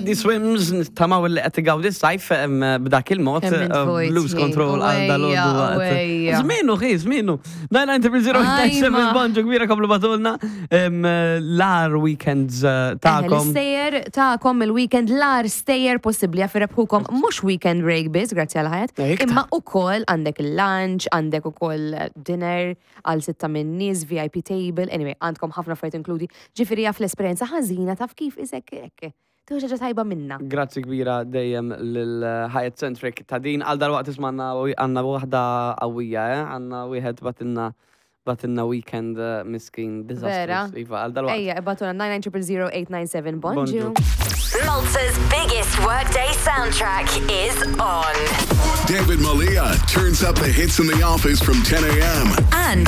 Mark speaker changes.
Speaker 1: Teddy Swims, tamaw li qed igawdi s-sajf b'dak il-mod,
Speaker 2: Kemm int vojt,
Speaker 1: lose control għal dal-għodu.
Speaker 2: Ejja, ejja.
Speaker 1: Zminu, xi, zminu. 990
Speaker 2: Ajma.
Speaker 1: bonġu kbira komplu batulna l-ar weekends tagħkom.
Speaker 2: L-istejjer tagħkom il-weekend l-ar stejjer possibbli għaf rebħukom mhux weekend break biss, grazzi għal ħajat,
Speaker 1: Iktar.
Speaker 2: imma ukoll għandek il-lunch, għandek ukoll dinner għal sitta minn nies, VIP table, anyway, għandkom ħafna affarijiet inkludi. Ġifieri jaf l-esperjenza ħażina taf kif isek hekk. Tieħu xi ħaġa tajba minna.
Speaker 1: Grazzi kbira dejjem lil Hyatt Centric ta' din għal dal-waqt ismanna għandna waħda qawwija, eh? Għandna wieħed batinna batinna weekend miskin
Speaker 2: Vera?
Speaker 1: disastrous. Iva, għal dal-waqt.
Speaker 2: Ejja, ibatuna 9900897 bonġu.
Speaker 1: Bonġu.
Speaker 3: Malta's biggest workday soundtrack is on.
Speaker 4: David Malia turns up the hits in the office from 10 a.m.
Speaker 3: And